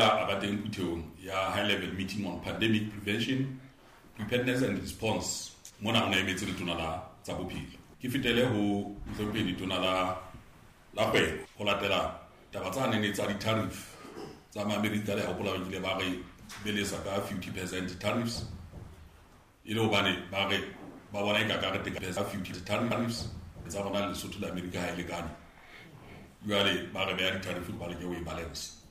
boela a ba teng phuthehong ya High Level Meeting on Pandemic Prevention, Preparedness and Response. Mona o ne emetse Letona la tsa Bophelo. Ke fetele ho Mohlomphehi Letona la Kgwebo ho latela taba tsa nene tsa di-tariff tsa Maamerika. Le hopola ba kile ba re belesa ka 50% tariffs, e le hobane ba re ba bona e ka ka re teka 50 tariffs tsa rona Lesotho le Amerika ha e lekane. Jwale ba re beha di-tariff ba leke ho e balance,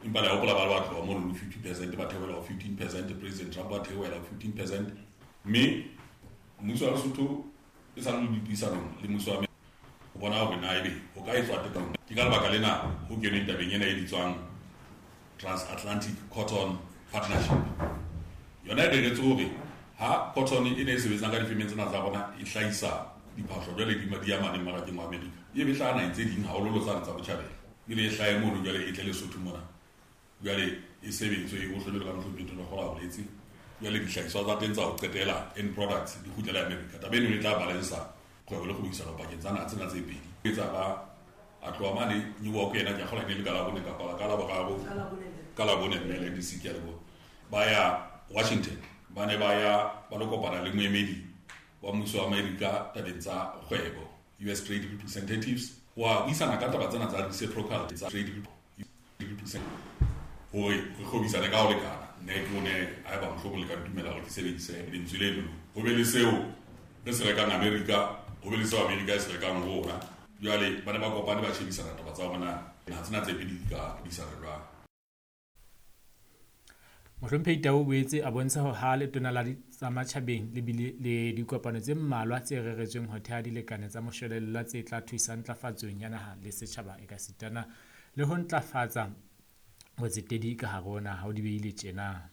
empa le hopola ba le ba tloha mono 50% ba theohela ho 15%. President Trump ba theohela ho 15%, mme mmuso wa Lesotho e sa le dipuisanong le mmuso wa ho bona hore na ebe ho ka etswa tekano. Ke ka lebaka lena ho kenweng tabeng ena e bitswang Transatlantic Cotton Partnership. Yona e reretswe hore ha cotton e ne e sebetsang ka difemeng tsena tsa rona e hlahisa diphahlo, jwale di ya mane mmarakeng wa Amerika, e be hlaha naheng tse ding, haholoholo tsane tsa botjhabela, ebile e hlahe mono, jwale e tle Lesotho mona, jwale e sebetswe, e ohlwe jwalo ka Mohlomphehi Tonakgolo a boletse, jwale dihlahiswa tsa teng tsa ho qetela, end products, di kgutlele Amerika. Taba eno e tla balansa kgwebo le kgwebisano pakeng tsa naha tsena tse pedi. Etsa ba a tloha mane New York, yena ke a kgola e ne le ka Labone kapa ka Laboraro, ka Labone, mme le DC, ke a leboha. Ba ya Washington, ba ne ba ya ba lo kopana le moemedi wa mmuso wa Amerika tabeng tsa kgwebo, US Trade Representatives, wa buisana ka taba tsena tsa reciprocal tsa trade represent hore re kgwebisane ka ho lekana. Ne ke o ne haeba mohlomong le ka ntumela hore ke sebedise lentswe leno, ho be le seo re se rekang Amerika, ho be le seo Amerika e se rekang ho rona. Jwale ba ne ba kopane ba shebisana taba tsa hore na naha tsena tse pedi di ka buisana jwang. Mohlomphehi Tau o boetse a bontsha hore ha Letona la tsa Matjhabeng le bile le dikopano tse mmalwa tse reretsweng ho theha dilekane tsa moshwelella tse tla thusa ntlafatsong ya naha le setjhaba ekasitana le ho ntlafatsa botsetedi ka hare ho naha. O di behile tjena.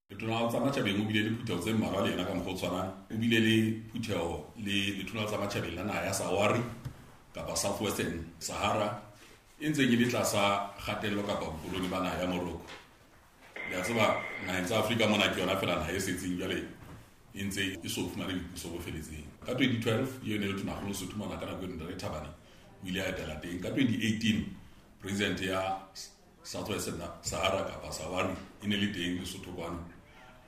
Letona la tsa Matjhabeng o bile le phutheho tse mmalwa le yena ka mokgwa o tshwanang. O bile le phutheho le Letona la tsa Matjhabeng la naha ya Sahwari kapa Southwestern Sahara e ntseng e le tlasa kgatello kapa bokoloni ba naha ya Morocco. Le a tseba, naheng tsa Afrika mona ke yona fela naha e setseng jwale e ntse e so fumane boipuso bo feletseng. Ka 2012 eo ne le Tonakgolo Lesotho mona ka nako eno, Ntate Thabane, o ile a etela teng. Ka 2018 president ya Southwestern Sahara kapa Sahwari e ne le teng Lesotho kwano.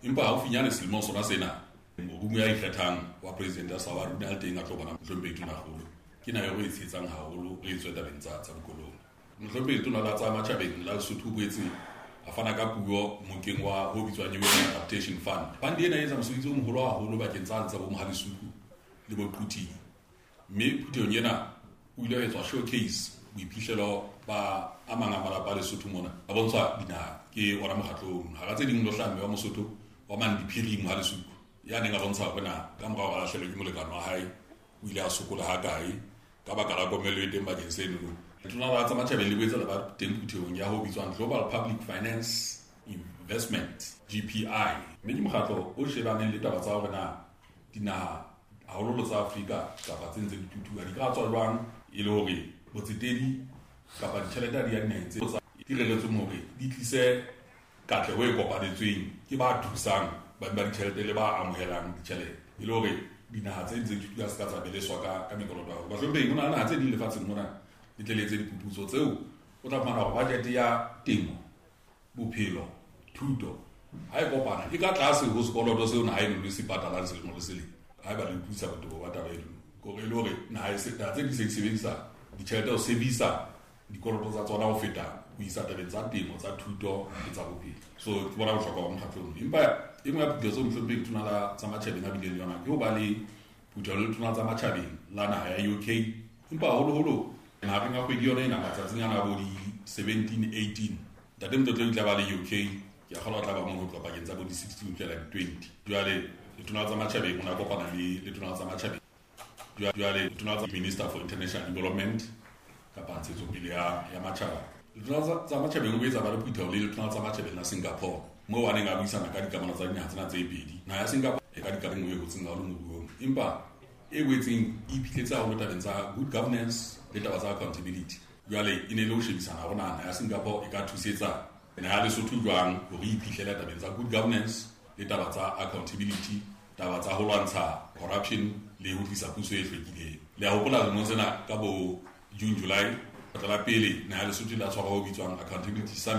Empa haufinyane selemong sona sena, morumo ya ikgethang wa president ya Sahwari o ne a le teng a tlo bona Mohlomphehi Tonakgolo. Ke naha eo re e tshehetsang haholo re etswe tabeng tsa bokoloni. Mohlomphehi Letona la tsa Matjhabeng la Lesotho o boetse a fana ka puo mokeng wa ho bitswang UN Adaptation Fund. Fund ena e etsa mosebetsi o moholo haholo bakeng tsa tsa bo Mohalesuku le bo Quthing. Mme phuthehong ena o ile wa etswa showcase boiphihlelo ba a mang a malapa a Lesotho mona. A bontshwa dinaha ke ona mokgatlo ono. Hara tse ding lo hlaha mme wa Mosotho wa Mandiphiri Mohalesuku ya neng a bontsha hore na ka mora hore a lahlehelwe ke molekane wa hae o ile a sokola ha kae ka baka la komello e teng bakeng seno. Letona la tsa Matjhabeng le boetse la ba teng phuthehong ya ho bitswang Global Public Finance Investment, GPI, mme ke mokgatlo o shebaneng le taba tsa hore na dinaha haholoholo tsa Afrika kapa tse ntse di thuthuha di ka tswa jwang e le hore botsetedi kapa ditjhelete ha di ya dinaheng tse di reretsweng hore di tlise katleho e kopanetsweng ke ba thusang ba ba ditjhelete le ba amohelang ditjhelete, e le hore dinaha tse ntse di thuthuha se ka tsa beleswa ka mekoloto haholo. Bahlomphehi, ho na le naha tse ding lefatsheng mona le tle le etse diphuputso tseo o tla fumana hore budget ya temo, bophelo, thuto ha e kopana e ka tlase ho sekoloto seo naha eno le se patalang selemo le selemo. Haeba le utlwisisa botebo ba taba eno, kore e le hore naha tse di se di sebedisa ditjhelete ho sebedisa dikoloto tsa tsona ho feta ho isa tabeng tsa temo, tsa thuto le tsa bophelo. So ke bona bohlokwa ba mokgatlo ono. Empa e nngwe ya phutheho tseo Mohlomphehi Letona la tsa Matjhabeng a bileng le yona ke ho ba le phutheho le Letona tsa Matjhabeng la naha ya UK. Empa haholoholo mahareng a kgwedi yona ena, matsatsing ana a bo di 17, 18, Ntate Motlotleng o tla ba le UK. Ke a kgolwa o tla ba mono ho tloha pakeng tsa bo di 16 ho fihlela di 20. Jwale Letona la tsa Matjhabeng o ne a kopana le Letona la tsa Matjhabeng, jwale Letona la Minister for International Development kapa ntshetsopele ya matjhaba. Letona tsa Matjhabeng o boetse a ba le phutheho le Letona tsa Matjhabeng la Singapore, moo a neng a buisana ka dikamano tsa dinaha tsena tse pedi. Naha ya Singapore e ka dikamano e hotseng haholo moruong, empa e boetseng e iphihletse haholo tabeng tsa good governance le taba tsa accountability. Jwale e ne le ho shebisana hore naha ya Singapore e ka thusetsa naha ya Lesotho jwang hore e iphihlele tabeng tsa good governance le taba tsa accountability, taba tsa ho lwantsha corruption le ho tlisa puso e hlwekileng. Le a hopola lemong sena ka bo June, July, kgetlo la pele naha ya Lesotho ile ya tshwarwa ho bitswang Accountability Summit.